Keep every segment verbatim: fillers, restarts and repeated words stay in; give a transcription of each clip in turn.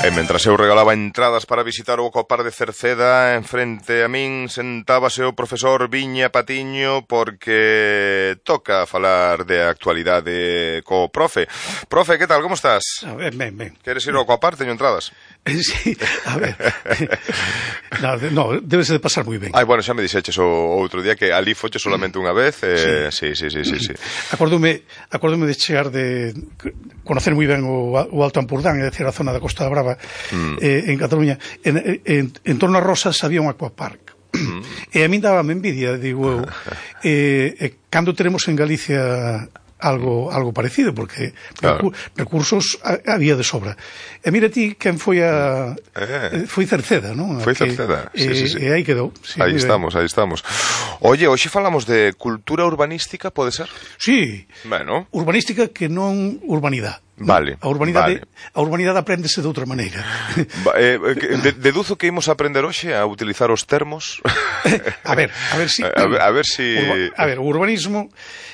E mentras eu regalaba entradas para visitar o Ecopar de Cerceda, en frente a min sentábase o profesor Viña Patiño, porque toca falar de actualidade co profe. Profe, que tal, como estás? A ver, ben, ben. Queres ir ao Ecopar? Teño entradas. Sí, a ver. No, no, debese de pasar moi ben. Ai, bueno, xa me dixeches o outro día que ali foche solamente unha vez. Eh, sí. Sí, sí, sí, sí, sí. Acordome, acordome de chegar de conocer moi ben o, o Alto Ampurdán, é dicir, a zona da Costa da Brava, mm. eh, en Cataluña. En, en, en torno a Rosas había un aquapark. Mm. E a min dábame envidia, digo eu, eh, eh, cando teremos en Galicia algo algo parecido, porque claro, recursos había de sobra. E mira ti quen foi a eh. foi Cerceda, non? Foi Cerceda, sí, sí, sí, sí. E aí quedou. Sí, aí estamos, aí estamos. Oye, hoxe falamos de cultura urbanística, pode ser? Sí. Bueno. Urbanística que non urbanidade. Vale. A urbanidade, vale. a urbanidade apréndese de outra maneira. Eh, de, deduzo que imos aprender hoxe a utilizar os termos. A ver, a ver si a ver, a ver si Urba, a ver, o urbanismo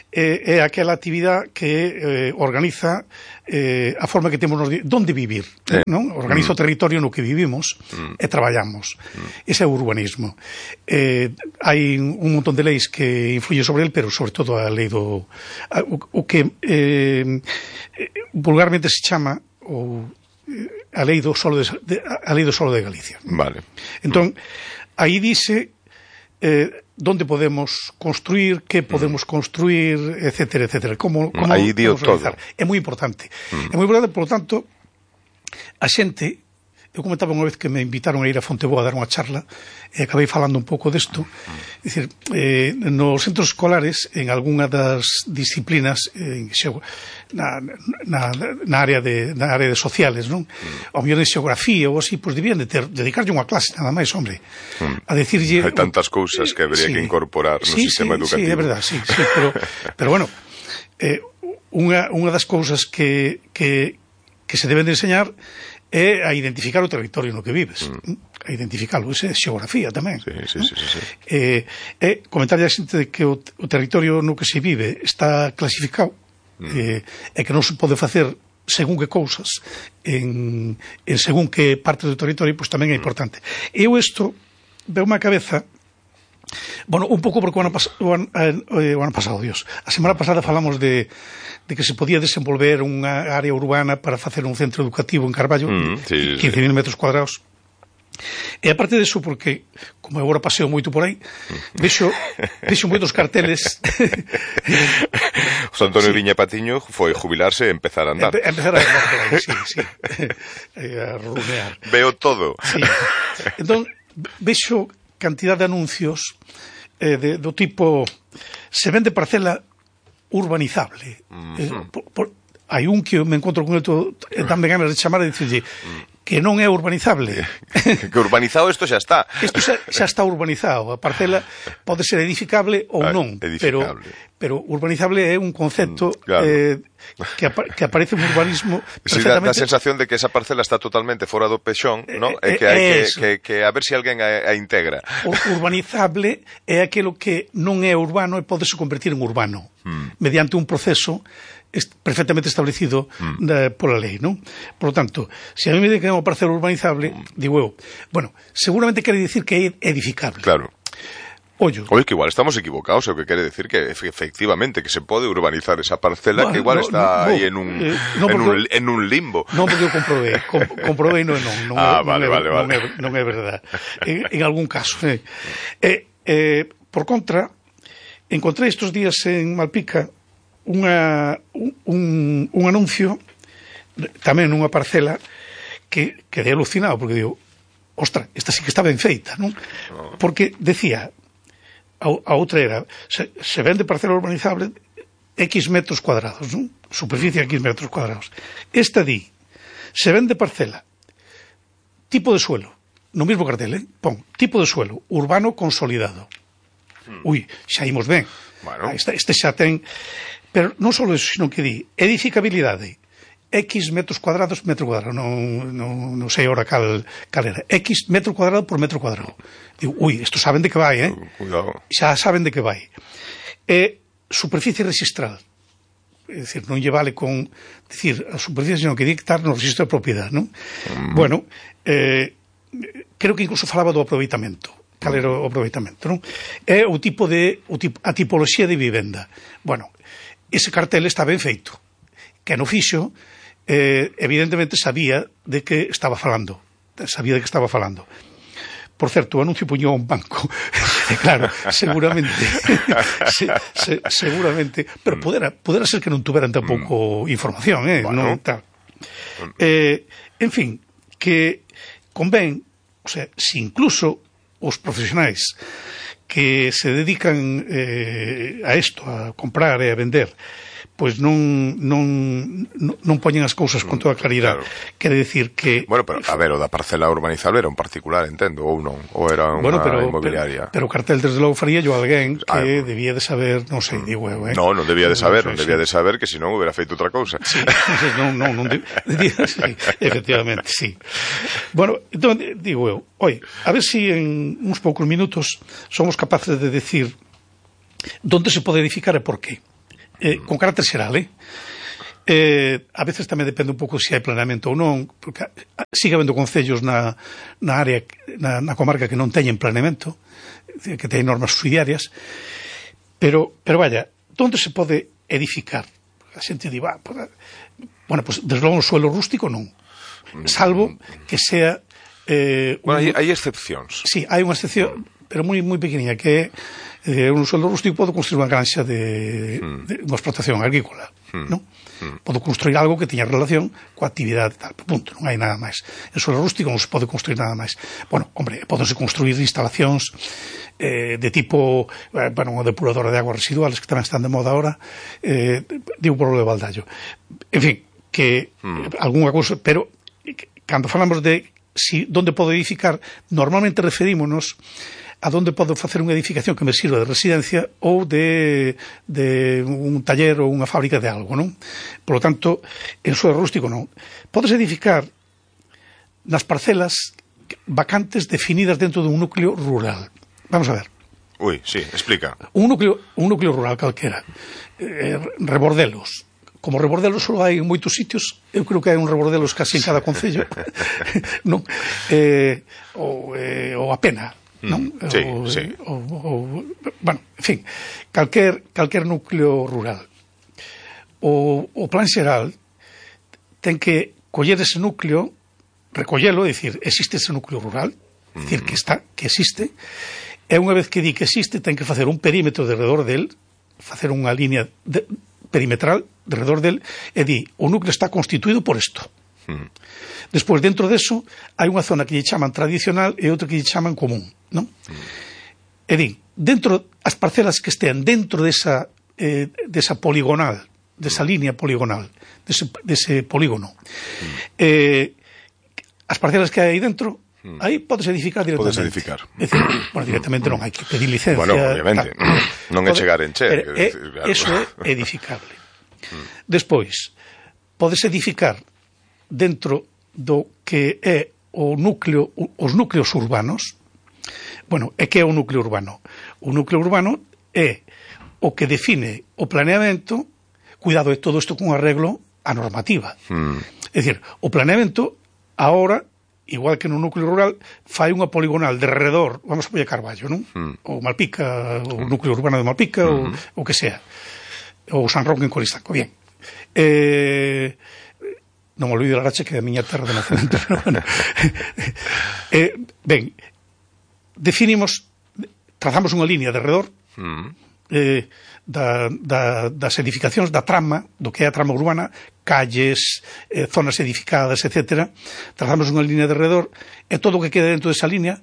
eh, é aquela actividade que eh, organiza eh, a forma que temos nos de onde vivir, eh. non? Organiza mm. o territorio no que vivimos mm. e traballamos. Mm. Ese é o urbanismo. Eh, hai un montón de leis que influyen sobre el, pero sobre todo a lei do a, o, o que eh, vulgarmente se chama o a lei do solo de, de a lei do solo de Galicia. Vale. Entón, mm. aí dice eh, donde podemos construir, que podemos mm. construir, etcétera, etcétera. Como, como aí dio todo. É moi importante. Mm. É moi importante, por lo tanto, a xente, eu comentaba unha vez que me invitaron a ir a Fonteboa a dar unha charla e acabei falando un pouco desto. É dicir, eh, nos centros escolares, en algunha das disciplinas, eh, na, na, na área de na área de sociales, non? Ao mellor de xeografía ou así, pois debían de ter, dedicarlle unha clase nada máis, hombre, a decirlle... Hai tantas cousas que habría sí, que incorporar no sí, sistema sí, educativo. Sí, é verdad, sí, sí, pero, pero bueno, eh, unha, unha das cousas que, que, que se deben de enseñar é a identificar o territorio no que vives, mm. a identificalo, esa é xeografía tamén. Sí, sí, sí, sí, sí. Eh, e comentarlle a xente de que o, o territorio no que se vive está clasificado, mm. eh, e que non se pode facer según que cousas en, en según que parte do territorio, pois tamén é importante. Mm. Eu isto veo unha cabeza. Bueno, un pouco porque o ano, pas, o, ano, eh, o ano pasado, Dios, a semana pasada falamos de, de que se podía desenvolver unha área urbana para facer un centro educativo en Carballo, mm, sí, quince mil sí. metros cuadrados. E aparte deso, porque, como eu agora paseo moito por aí, vexo, vexo moitos carteles. O Antonio sí. Viña Patiño foi jubilarse e empezar a andar. Empe, empezar a andar por aí, sí, sí. A runear. Veo todo. Sí. Entón, vexo cantidad de anuncios eh, de, do tipo se vende parcela urbanizable. Uh-huh. eh, por, por, hai un que me encontro con el todo, eh, tamén ganas de chamar e dicirlle que non é urbanizable. Que, que urbanizado isto xa está. Isto xa, xa está urbanizado. A parcela pode ser edificable ou non, edificable. pero, pero urbanizable é un concepto claro. eh, que, apa que aparece no urbanismo sí, perfectamente. Dá a sensación de que esa parcela está totalmente fora do pexón, ¿no? E que hai que, que, que a ver se si alguén a, a integra. O urbanizable é aquilo que non é urbano e pode se convertir en urbano, hmm. mediante un proceso perfectamente establecido mm. da, pola lei, non? Por lo tanto, se a mí me dicen que é unha parcela urbanizable, mm. digo eu, bueno, seguramente quere dicir que é edificable. Claro. Ollo. Oye, que igual estamos equivocados, o que quere decir que efectivamente que se pode urbanizar esa parcela, no, que igual no, está no, aí en un, eh, no, en, un en un limbo. Non, porque eu comprobei, com, comprobei non, non, non, ah, non, vale, non, vale, non, vale. É, non é verdade. En, en algún caso. Eh. Eh, eh, por contra, encontrei estes días en Malpica Unha, un, un anuncio tamén nunha parcela que quedei alucinado porque digo, ostra, esta sí que está ben feita, non? Porque decía a, a outra era se, se vende parcela urbanizable X metros cuadrados, non? Superficie X metros cuadrados. Esta di se vende parcela tipo de suelo, no mismo cartel, eh? Pon, tipo de suelo urbano consolidado. Ui, xa imos ben. Bueno. Este, este xa ten. Pero non só iso, sino que di edificabilidade X metros cuadrados, metro cuadrado, non, non, non sei ahora cal, cal era, X metro cuadrado por metro cuadrado. Digo, ui, isto saben de que vai, eh? Cuidado. Xa saben de que vai. E superficie registral, é dicir, non lle vale con dicir a superficie, senón que dictar no registro de propiedade, non? Mm. Bueno, eh, creo que incluso falaba do aproveitamento. Cal era o aproveitamento, non? É o tipo de, o tipo, a tipoloxía de vivenda. Bueno, ese cartel está ben feito. Que no fixo, eh, evidentemente sabía de que estaba falando. Sabía de que estaba falando. Por certo, o anuncio puñou un banco. Claro, seguramente se, se, seguramente, pero podera, podera ser que non tuveran tampouco mm. información, eh, bueno. Non tal. Eh, en fin, que convén, o sea, se incluso os profesionais que se dedican eh, a isto, a comprar e a vender, pois non, non, non poñen as cousas con toda claridade. Claro. Quere decir que... Bueno, pero, a ver, o da parcela urbanizable era un particular, entendo, ou non? Ou era unha bueno, pero, inmobiliaria? Pero, pero o cartel, desde logo, faría yo alguén que ah, debía de saber, non sei, digo eu, eh? No, non debía de saber, non, non debía de saber, que senón hubiera feito outra cousa. Sí, non, non, non debía, sí, efectivamente, sí. Bueno, entón, digo eu, oi, a ver si en uns poucos minutos somos capaces de decir onde se pode edificar e por qué. Eh, con carácter xeral, eh? eh? A veces tamén depende un pouco se hai planeamento ou non, porque sigue habendo concellos na, na área, na, na comarca que non teñen planeamento, que teñen normas subsidiarias, pero, pero vaya, onde se pode edificar? A xente di, va, pues, bueno, pues desde logo un suelo rústico non, salvo que sea... Eh, bueno, un... hai, hai excepcións. Sí, hai unha excepción, pero moi moi pequeniña, que é eh, un suelo rústico. Podo construir unha granxa de, mm. de unha explotación agrícola, mm. non? Mm. Podo construir algo que teña relación coa actividade tal, punto, non hai nada máis. En suelo rústico non se pode construir nada máis. Bueno, hombre, podense construir instalacións eh, de tipo, eh, bueno, unha depuradora de aguas residuales que tamén están de moda ahora, eh, digo por lo de Baldallo. En fin, que mm. algunha cousa, pero cando falamos de si donde podo edificar, normalmente referímonos a donde podo facer unha edificación que me sirva de residencia ou de, de un taller ou unha fábrica de algo, non? Por lo tanto, en suelo rústico non. Podes edificar nas parcelas vacantes definidas dentro dun núcleo rural. Vamos a ver. Ui, sí, explica. Un núcleo, un núcleo rural calquera. Eh, rebordelos. Como rebordelos só hai en moitos sitios, eu creo que hai un rebordelos casi en cada concello, non? Eh, ou, eh, ou a pena, non? Mm, sí, o, sí. O, o, bueno, en fin, calquer, calquer núcleo rural. O, o plan xeral ten que coller ese núcleo, recollelo, dicir, existe ese núcleo rural, dicir, que está, que existe, e unha vez que di que existe, ten que facer un perímetro de redor del, facer unha línea de, perimetral de redor del, e di, o núcleo está constituído por isto. Mm. Despois, dentro deso, hai unha zona que lle chaman tradicional e outra que lle chaman común, non? Mm. E di, dentro, as parcelas que estean dentro desa, eh, desa poligonal, desa mm. línea poligonal, dese, dese polígono, mm. eh, as parcelas que hai dentro, mm. aí podes edificar directamente. Podes edificar. É dicir, bueno, directamente non hai que pedir licencia. Bueno, obviamente, tal. Non é chegar en che. Pero, é, claro. Eso é edificable. Mm. Despois, podes edificar dentro do que é o núcleo, os núcleos urbanos. Bueno, é que é o núcleo urbano? O núcleo urbano é o que define o planeamento, cuidado, é todo isto con arreglo a normativa. Mm. É dicir, o planeamento, ahora, igual que no núcleo rural, fai unha poligonal de redor, vamos a poñer Carballo, non? Mm. Ou Malpica, o núcleo urbano de Malpica, mm-hmm. ou o que sea. Ou San Roque en Coristanco, bien. Eh, non me olvido a Arache, que é a miña terra de nacemento, pero bueno. eh, ben, definimos, trazamos unha línea de redor mm. eh, da, da, das edificacións, da trama, do que é a trama urbana, calles, eh, zonas edificadas, etcétera. Trazamos unha línea de redor, e todo o que quede dentro desa línea,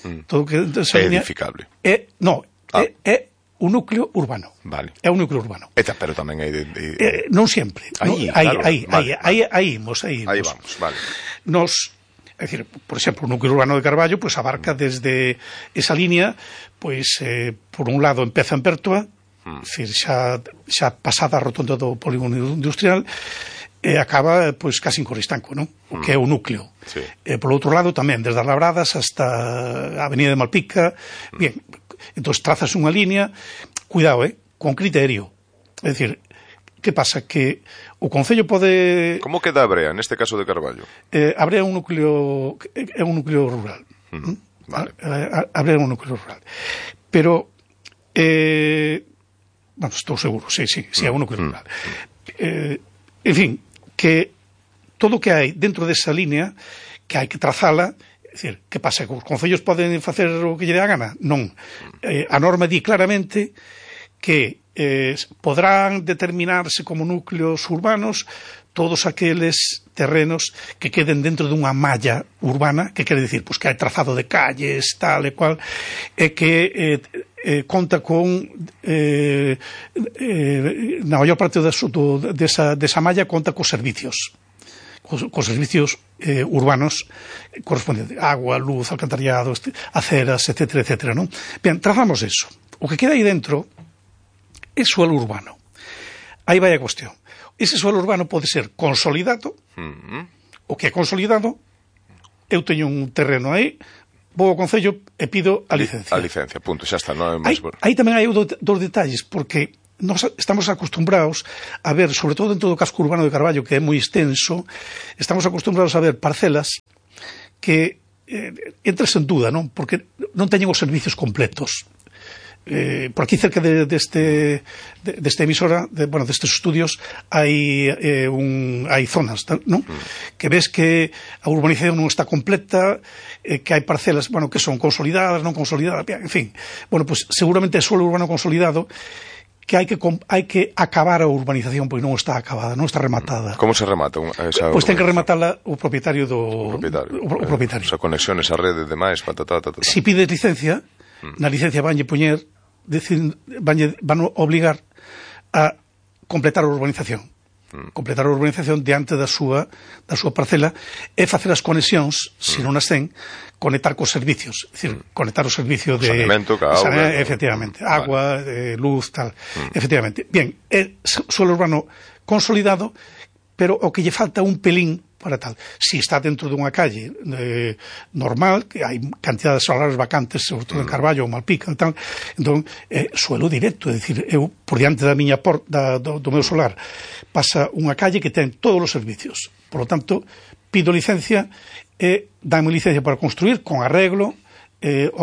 mm. todo o que dentro desa é línea... edificable. É, no, ah. é, é un núcleo urbano. Vale. É un núcleo urbano. Eta, pero tamén hai... De, de... Eh, non sempre. Aí, no, claro. Aí, vale, aí, vale. aí, aí imos, aí imos. Aí vamos, vale. Nos, é dicir, por exemplo, o núcleo urbano de Carballo, pues abarca desde esa línea, pues, eh, por un lado empeza en Pertoa, mm. decir, xa, xa pasada a rotonda do polígono industrial, e acaba, pues, casi en Coristanco, non? O que é o núcleo. Sí. Eh, por outro lado, tamén, desde as Labradas hasta a Avenida de Malpica, mm. bien, entón trazas unha línea, cuidado, eh, con criterio. É dicir, que pasa? Que o Concello pode... Como queda a Brea, neste caso de Carballo? Eh, a Brea é un núcleo, é un núcleo rural. Mm, vale. A, a, a Brea é un núcleo rural. Pero, eh, bueno, estou seguro, sí, sí, sí, é un núcleo rural. Eh, en fin, que todo o que hai dentro desa línea, que hai que trazala. É dicir, que pasa? Que os concellos poden facer o que lle dé a gana? Non. Eh, a norma di claramente que eh, podrán determinarse como núcleos urbanos todos aqueles terrenos que queden dentro dunha malla urbana, que quere dicir, pues, que hai trazado de calles, tal e cual, e que eh, eh, conta con eh, eh, na maior parte da, do, desa, desa malla conta cos servicios cos, cos servicios eh, urbanos correspondentes, agua, luz, alcantarillado, aceras, etcétera, etcétera, non? Ben, trazamos eso. O que queda aí dentro é suelo urbano. Aí vai a cuestión. Ese suelo urbano pode ser consolidado, mm-hmm. O que é consolidado, eu teño un terreno aí, vou ao Concello e pido a licencia. A licencia, punto, xa está. Non é máis... aí, aí tamén hai dos detalles, porque nos estamos acostumbrados a ver, sobre todo dentro do casco urbano de Carballo, que é moi extenso, estamos acostumbrados a ver parcelas que eh, entras en duda, non? Porque non teñen os servicios completos. Eh, por aquí cerca de, deste de, desta emisora, de, bueno, destes estudios hai eh, un, hai zonas, non? Mm. Que ves que a urbanización non está completa, eh, que hai parcelas, bueno, que son consolidadas, non consolidadas, en fin. Bueno, pues seguramente é suelo urbano consolidado que hai que hai que acabar a urbanización porque non está acabada, non está rematada. Como se remata esa? Pois ten que rematala o propietario do o propietario. O, o propietario. Eh, o sea, conexiones a rede de máis, patata, patata. Si pides licencia, mm. na licencia vanlle poñer, decir, vanlle van obligar a completar a urbanización. Mm. Completar a urbanización diante da súa da súa parcela e facer as conexións, mm. se non as ten, conectar cos servicios, é dicir, mm. conectar o servicio de saneamento, que auga, saneamento, efectivamente, mm. agua, vale. eh, luz, tal, mm. efectivamente. Bien, é suelo urbano consolidado, pero o que lle falta un pelín para tal. Si está dentro dunha calle eh, normal, que hai cantidades solares vacantes, sobre todo en Carballo ou Malpica e tal, entón, eh, suelo directo, é dicir, eu, por diante da miña por, da, do, do meu solar, pasa unha calle que ten todos os servicios. Por lo tanto, pido licencia e dame licencia para construir con arreglo eh,